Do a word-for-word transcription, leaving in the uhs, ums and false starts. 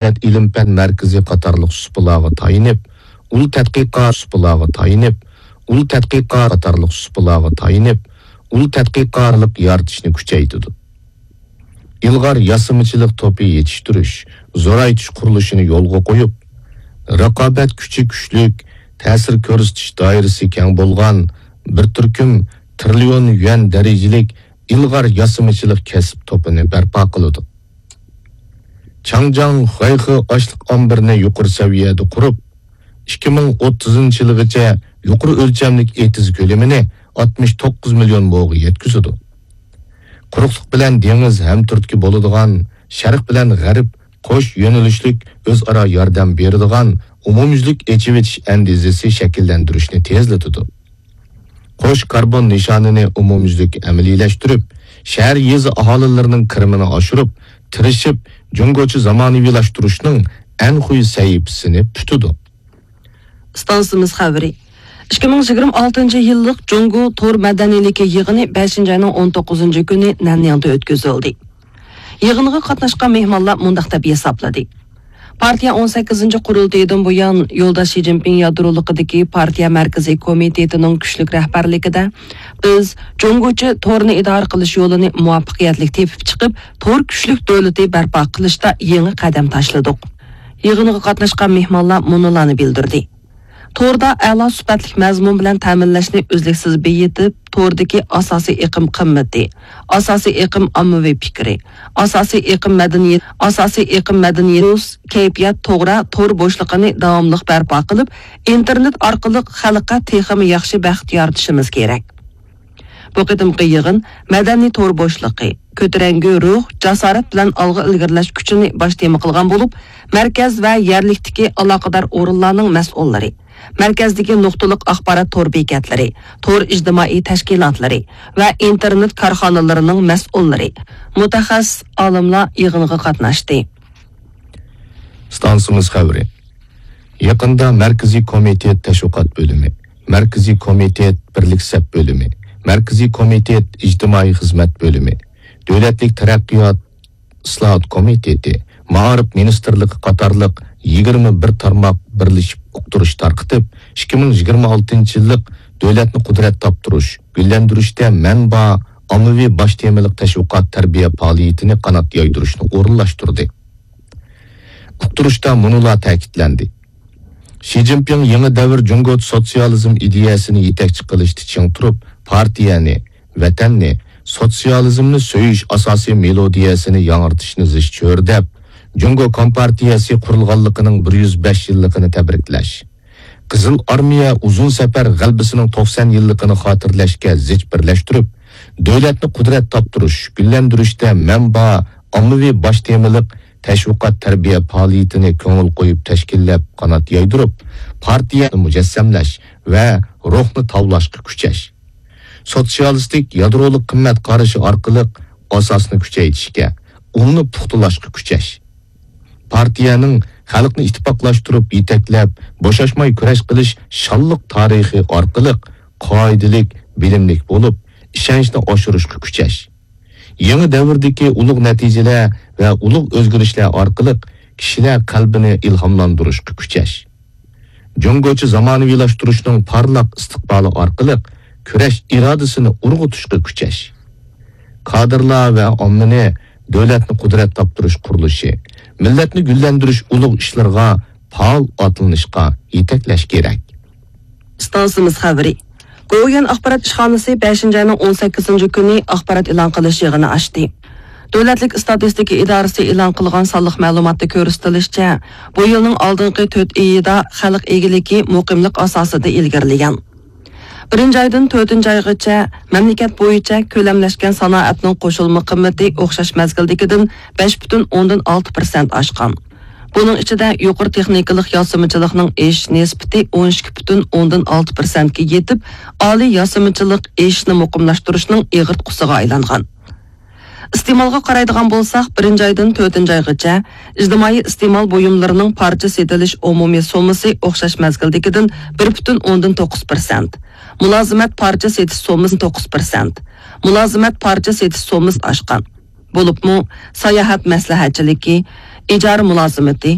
دۆلەت ئىلىم-پەن مەركىزى قاتارلىق سۇپىلارغا تايىنىپ، ئۇل تەتقىقات سۇپىلارغا تايىنىپ، ئۇل تەتقىقات قاتارلىق سۇپىلارغا تايىنىپ، ئۇل تەتقىقاتلىق يارىتىشنى كۈچەيتىدۇ. ئىلغار ياسىمىچىلىق توپى يېتىشتۈرۈش، زورايتىش قۇرۇلۇشىنى يولغا قويۇپ، رىقابەت كۈچى كۈچلۈك، تەسىر كۆرسىتىش دائىرىسى كەڭ بولغان بىر تۈركۈم تىرىليون يۈەن دەرىجىلىك ئىلغار ياسىمىچىلىق كەسىپ توپىنى بەرپا قىلىدۇ. چاڭجياڭ خۇەيخې ئاشلىق ئامبىرىنى يۇقىرى سەۋىيەدە قۇرۇپ، ئىككى مىڭ ئوتتۇزىنچى يىلىغىچە يۇقىرى ئۆلچەملىك ئېتىز كۆلىمىنى ئاتمىش توققۇز مىليون موغا يەتكۈزىدۇ. قۇرۇقلۇق بىلەن دېڭىز ھەمتۈرتكە بولىدىغان، شەرق بىلەن غەرب قوش يۆنىلىشلىك ئۆزئارا ياردەم بېرىدىغان ئومۇميۈزلۈك ئېچىۋېتىش ئەندىزىسى شەكىللەندۈرۈشنى تېزلىتىدۇ. قوش كاربون نىشانىنى ئومۇميۈزلۈك ئەمەلىيلەشتۈرۈپ، شەھەر، يېزا ئاھالىلىرىنىڭ كىرىمىنى ئاشۇرۇپ، تىرىشىپ، جۇڭگوچە زامانىۋىلاشتۇرۇشنىڭ ئەنخۇي سەھىپىسىنى پۈتىدۇ. ئىستانسىمىز خەۋىرى. ئىككى مىڭ يىگىرمە ئالتىنچى يىللىق جۇڭگو تور مەدەنىيلىكى يىغىنى بەشىنچى ئاينىڭ ئون توققۇزىنچى كۈنى نەنيىڭدە ئۆتكۈزۈلدى. يىغىنغا قاتناشقان مېھمانلار مۇنداق دەپ ھېسابلىدى: پارتىيە ئون سەككىزىنچى قۇرۇلتىيىدىن بۇيان، يولداش شى جىنپىڭ يادرولۇقىدىكى پارتىيە مەركىزىي كومىتېتىنىڭ كۈچلۈك رەھبەرلىكىدە، بىز جۇڭگوچە تورنى ئىدارە قىلىش يولىنى مۇۋەپپەقىيەتلىك تېپىپ چىقىپ، تور كۈچلۈك دۆلىتى بەرپا قىلىشتا يېڭى قەدەم تاشلىدۇق. يىغىنغا قاتناشقان مېھمانلار مۇنۇلارنى بىلدۈردى: توردا ئەلا سۈپەتلىك مەزمۇن بىلەن تەمىنلەشنى ئۈزلۈكسىز بېيىتىپ، توردىكى ئاساسىي ئېقىم قىممىتى، ئاساسىي ئېقىم ئاممىۋى پىكرى، ئاساسىي ئېقىم مەدەنىيەت، ئاساسىي ئېقىم مەدەنىيەت، كەيپىيات توغرا تور بوشلۇقىنى داۋاملىق بەرپا قىلىپ، ئىنتېرنېت ئارقىلىق خەلققە تېخىمۇ ياخشى بەخت يارىتىشىمىز كېرەك. بۇ قېتىمقى يىغىن مەدەنىي تور بوشلۇقى، كۆتۈرەڭگۈ روھ، جاسارەت بىلەن ئالغا ئىلگىرىلەش كۈچىنى باش تېما قىلغان بولۇپ، مەركەز ۋە يەرلىكتىكى ئالاقىدار ئورۇنلارنىڭ مەسئۇللىرى، مەركەزدىكى نۇقتىلىق ئاخبارات تور بېكەتلىرى، تور ئىجتىمائىي تەشكىلاتلىرى ۋە ئىنتېرنېت كارخانىلىرىنىڭ مەسئۇللىرى، مۇتەخەسسىس ئالىملار يىغىنغا قاتناشتى. ئىستانسىمىز خەۋىرى. يېقىندا مەركىزىي كومىتېت تەشۋىقات بۆلۈمى، مەركىزىي كومىتېت بىرلىك سەپ بۆلۈمى، مەركىزىي كومىتېت ئىجتىمائىي خىزمەت بۆلۈمى، دۆلەتلىك تەرەققىيات ئىسلاھات كومىتېتى، مائارىپ مىنىستىرلىقى قاتارلىق يىگىرمە بىر تارماق بىرلىشىپ ئۇقتۇرۇش تارقىتىپ، ئىككى مىڭ يىگىرمە ئالتىنچى يىللىق دۆلەتنى قۇدرەت تاپتۇرۇش، گۈللەندۈرۈشتە مەنبە، ئاممىۋى باش تېمىلىق تەشۋىقات تەربىيە پائالىيىتىنى قانات يايدۇرۇشنى ئورۇنلاشتۇردى. ئۇقتۇرۇشتا مۇنۇلار تەكىتلەندى: شى جىنپىڭ يېڭى دەۋر جۇڭگو سوتسىيالىزم ئىدىيەسىنى يېتەكچى قىلىشتا چىڭ تۇرۇپ، پارتىيەنى، ۋەتەننى، سوتسىيالىزمنى سۆيۈش ئاساسىي مېلودىيەسىنى ياڭرىتىشنى زىچ چۆرىدەپ، جۇڭگو كومپارتىيەسى قۇرۇلغانلىقىنىڭ بىر يۈز بەش يىللىقىنى تەبرىكلەش، قىزىل ئارمىيە ئۇزۇن سەپەر غەلىبىسىنىڭ توقسان يىللىقىنى خاتىرىلەشكە زىچ بىرلەشتۈرۈپ، دۆلەتنى قۇدرەت تاپتۇرۇش، گۈللەندۈرۈشتە مەنبە، ئاممىۋى باش تېمىلىق تەشۋىقات تەربىيە پائالىيىتىنى كۆڭۈل قويۇپ تەشكىللەپ، قانات يايدۇرۇپ، پارتىيەنى مۇجەسسەملەش ۋە روھنى تاۋلاشقا كۈچەش. سوتسىيالىستىك يادرولۇق قىممەت قارىشى ئارقىلىق ئاساسنى كۈچەيتىشكە، ئۇلنى پۇختىلاشقا كۈچەش. پارتىيەنىڭ خەلقنى ئىتتىپاقلاشتۇرۇپ يېتەكلەپ، بوشاشماي كۈرەش قىلىش شانلىق تارىخى ئارقىلىق قائىدىلىك، بىلىملىك بولۇپ، ئىشەنچنى ئاشۇرۇشقا كۈچەش. يېڭى دەۋردىكى ئۇلۇغ نەتىجىلەر ۋە ئۇلۇغ ئۆزگىرىشلەر ئارقىلىق كىشىلەر قەلبىنى ئىلھاملاندۇرۇشقا كۈچەش. جۇڭگوچە زامانىۋىلاشتۇرۇشنىڭ پارلاق ئىستىقبالى ئارقىلىق كۈرەش ئىرادىسىنى ئۇرغۇتۇشقا كۈچەش. كادىرلار ۋە ئاممىنى دۆلەتنى قۇدرەت تاپتۇرۇش قۇرۇلۇشى، مىللەتنى گۈللەندۈرۈش ئۇلۇغ ئىشلىرىغا پائال ئاتلىنىشقا يېتەكلەش كېرەك. ئىستانسىمىز خەۋىرى. گوۋۇيۈەن ئاخبارات ئىشخانىسى بەشىنچى ئاينىڭ ئون سەككىزىنچى كۈنى ئاخبارات ئېلان قىلىش يىغىنى ئاچتى. دۆلەتلىك ئىستاتىستىكا ئىدارىسى ئېلان قىلغان سانلىق مەلۇماتتا كۆرسىتىلىشىچە، بۇ يىلنىڭ ئالدىنقى تۆت ئېيىدا خەلق ئىگىلىكى مۇقىملىق ئاساسىدا ئىلگىرىلىگەن. بىرىنچى ئايدىن تۆتىنچى ئايغىچە مەملىكەت بويىچە كۆلەملەشكەن سانائەتنىڭ قوشۇلما قىممىتى ئوخشاش مەزگىلدىكىدىن بەش پۈتۈن ئوندىن ئالتە پىرسەنت ئاشقان. بۇنىڭ ئىچىدە يۇقىرى تېخنىكىلىق ياسىمىچىلىقنىڭ ئېشىش نىسبىتى ئون ئىككى پۈتۈن ئوندىن ئالتە پىرسەنتكە يېتىپ، ئالىي ياسىمىچىلىق ئېشىشنى مۇقىملاشتۇرۇشنىڭ ئېغىرتقۇسىغا ئايلانغان. ئىستېمالغا قارايدىغان بولساق، بىرىنچى ئايدىن تۆتىنچى ئايغىچە ئىجتىمائىي ئىستېمال بۇيۇملىرىنىڭ پارچە سېتىلىش ئومۇمىي سوممىسى ئوخشاش مەزگىلدىكىدىن بىر پۈتۈن ئوندىن توققۇز پىرسەنت، مۇلازىمەت پارچە سېتىش سوممىسى توققۇز پىرسەنت، مۇلازىمەت پارچە سېتىش سوممىسى ئاشقان. بولۇپمۇ ساياھەت مەسلىھەتچىلىكى، ئىجارە مۇلازىمىتى،